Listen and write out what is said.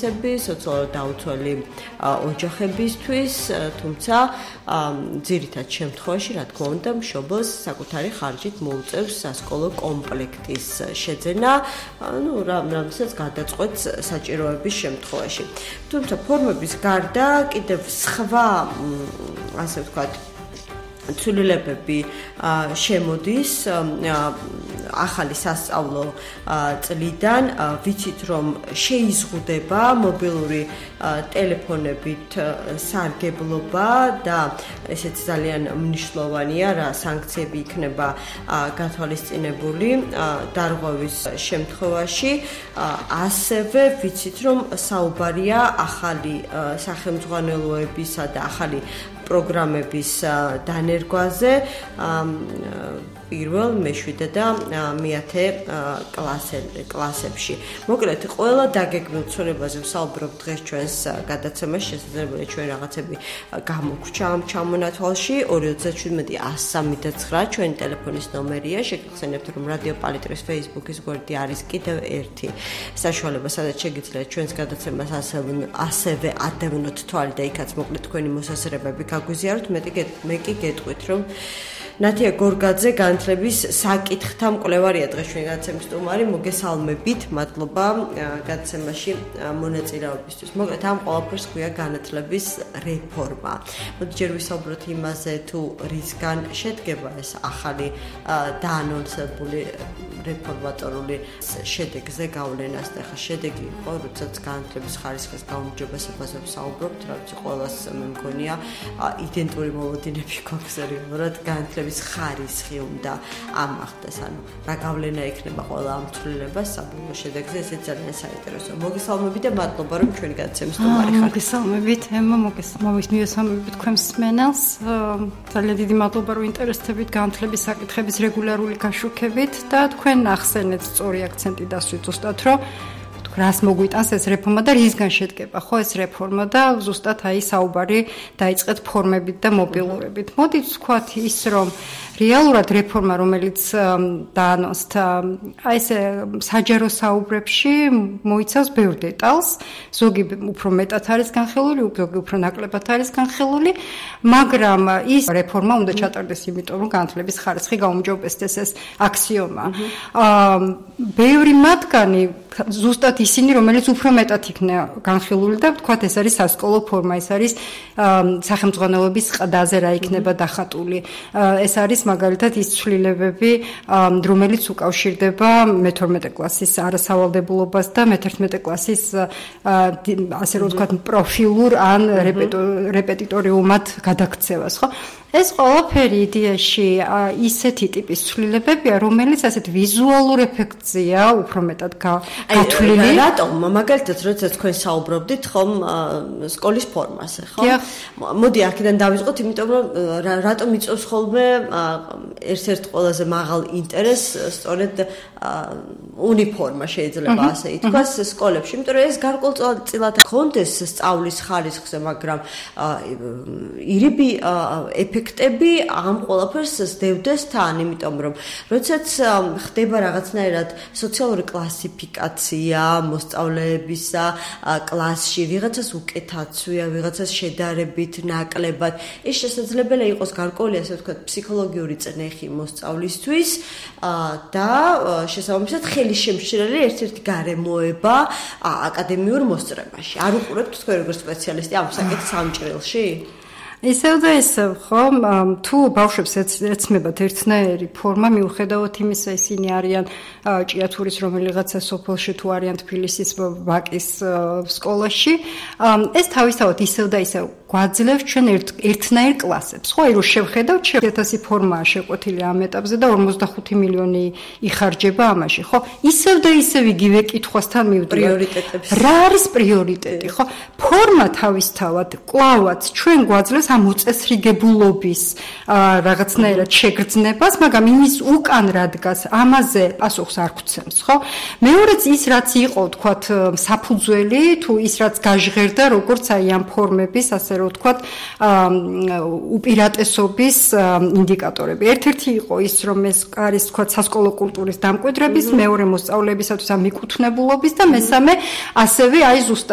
უმცროსები, სოციალურად დაუცველი ოჯახებისთვის, თუმცა ძირითად შემთხვევაში, რა თქმა უნდა, მშობელს საკუთარი ხარჯით მოუწევს სასკოლო კომპლექტის შეძენა, რამაც გადაწყვეტს საჭიროების შემთხვევაში. თუმცა ფორმების გარდა კიდევ სხვა, ასე ვთქვათ, ცვლილებები შემოდის ახალი სასწავლო წლიდან, ვიცით რომ შეიზღუდება მობილური ტელეფონებით სარგებლობა და ესეც ძალიან მნიშვნელოვანია, რა სანქციები იქნება გათვალისწინებული დარღვევის შემთხვევაში. ასევე ვიცით რომ საუბარია ახალი სახელმძღვანელოებისა და ახალი პროგრამების დანერგვაზე პირველ, მეშვიდე და მეათე კლასებში. მოკლედ, ყველა დაგეგმილ ცვლილებაზე ვსაუბრობ დღეს ჩვენს გადაცემაში, შესაძლებელია ჩვენ რაღაცები გამოგვჩა ამ ჩამონათვალში. 237-103 ჩვენი ტელეფონის ნომერია. შეგახსენებთ, რომ რადიო პალიტრის Facebook-ის გვერდი არის კიდევ ერთი საშუალება, სადაც შეგიძლიათ ჩვენს გადაცემას ასევე ადევნოთ თვალი და იქაც მოკლედ თქვენი მოსაზრებები გაგვიზიაროთ. მე კი გეტყვით, რომ ნათია გორგაძე განათლების საკითხთა მკვლევარია დღეს ჩვენი გადაცემის სტუმარი. მოგესალმებით, მადლობა გადაცემაში მონაწილეობისთვის. მოკლედ ამ ყველაფერს ქვია განათლების რეფორმა. მოდი ჯერ ვისაუბროთ იმაზე, თუ რისგან შედგება ეს ახალი დაანონსებული რეფორმატორული შედეგზე გავლენას და ხა შედეგი იყო, როდესაც განათლების ხარისხის გაუმჯობესებაზე ვსაუბრობთ, რაც ყველას მე მგონია იდენტური მოლოდინები გვაქვს რეალურად განათლების ხარისხი უნდა ამახდეს, ანუ რა გავლენა ექნება ყველა ამ ცვლილებას საბოლოო შედეგზე, ესეც ძალიან საინტერესოა. მოგესალმებით და მადლობა რომ ჩვენი გადაცემის სტუმარი ხართ. მოგესალმებით, ემო, მოგესალმებით თქვენ მსმენელს. ძალიან დიდი მადლობა რომ ინტერესდებით განათლების საკითხების რეგულარული გაშუქებით და თქვენ ახსენეთ სწორი აქცენტი დასვით ზუსტად რომ რას მოგვიტანს ეს რეფორმა და რისგან შედგება ხო ეს რეფორმა და ზუსტად აი საუბარი დაიწყეთ ფორმებით და მობილურებით. მოდით ვთქვათ ის რომ რეალურად რეფორმა რომელიც დაანონსდა აი ეს საჯარო საუბრებში მოიცავს ბევრ დეტალს, ზოგი უფრო მეტად არის განხილული, ზოგი უფრო ნაკლებად არის განხილული, მაგრამ ის რეფორმა უნდა ჩატარდეს იმიტომ რომ განათლების ხარისხი გაუმჯობესდეს, ეს აქსიომა. ბევრი მათგანი ზუსტად ისინი, რომელიც უფრო მეტად იქნა განხილული და ვთქვათ ეს არის სასკოლო ფორმა, ეს არის სახელმძღვანელოების ყდაზე რა იქნება დახატული. ეს არის მაგალითად ის ცვლილებები, რომელიც უკავშირდება მე-12 კლასის არასავალდებულობას და მე-11 კლასის ასე რომ ვთქვათ პროფილურ ან რეპეტიტორიუმად გადაქცევას, ხო? ეს ყველაფერი იდეაში ისეთი ტიპის ცვლილებებია, რომელიც ასეთ ვიზუალურ ეფექტზეა უფრო მეტად გათვლილი. რატომ? მაგალითად, როდესაც თქვენ საუბრობდით ხომ სკოლის ფორმაზე, ხო? მოდი აქედან დავიწყოთ, იმიტომ რომ რატომ იწვევს ხოლმე ერთ-ერთ ყველაზე მაღალ ინტერესს სწორედ უნიფორმა შეიძლება ასე ითქვას სკოლებში, იმიტომ რომ ეს გარკვეულწილად კონდეს სწავლის ხარისხზე, მაგრამ ირიბი ეფექტები ამ ყველაფერს სდევდეს თან, იმიტომ რომ როდესაც ხდება რაღაცნაირად სოციალური კლასიფიკაცია მოსწავლეებისა კლასში, ვიღაცას უკეთაცვია, ვიღაცას შედარებით ნაკლებად, ეს შესაძლებელია იყოს გარკვეული ასე ვთქვათ ფსიქოლოგიური წნეხი მოსწავლისთვის და შესაბამისად ხელი შემშლელი ერთ-ერთი გარემოება აკადემიურ მოსწრებაში. არ უყურებთ თქვენ როგორც სპეციალისტი ამ საკითხს ამ ჭრილში? ისევ და ისევ, ხო, თუ ბავშვებს ეცმებათ ერთნაირი ფორმა, მიუხედავად იმისა, ისინი არიან ჭიათურის რომელიღაცა სოფელში თუ არიან თბილისის ვაკის სკოლაში, ეს თავისთავად ისევ და ისევ გვაძლევს ჩვენ ერთნაირ კლასებს. ხო, რომ შევხედავთ 1000 ფორმაა შეკვეთილი ამ ეტაპზე და 45 მილიონი იხარჯება ამაში, ხო? ისევ და ისევ იგივე კითხვასთან მივდივართ. პრიორიტეტებს. რა არის პრიორიტეტი, ხო? ფორმა თავისთავად კვლავაც ჩვენ გვაძლევს ამ უწესრიგებულობის რაღაცნაირად შეგრძნებას, მაგრამ იმის უკან რა დგას, ამაზე პასუხს არ გვცემს, ხო? მეორეც ის რაც იყო, თქვათ, საფუძველი, თუ ის რაც გაჟღერდა, როგორც აი ამ ფორმების, ასე რომ ვთქვათ, უპირატესობის ინდიკატორები. ერთ-ერთი იყო ის, რომ ეს არის, თქვათ, სასკოლო კულტურის დამკვიდრების, მეორე მოსწავლეებისათვის ამ მიკუთვნებულობის და მესამე ასევე აი ზუსტად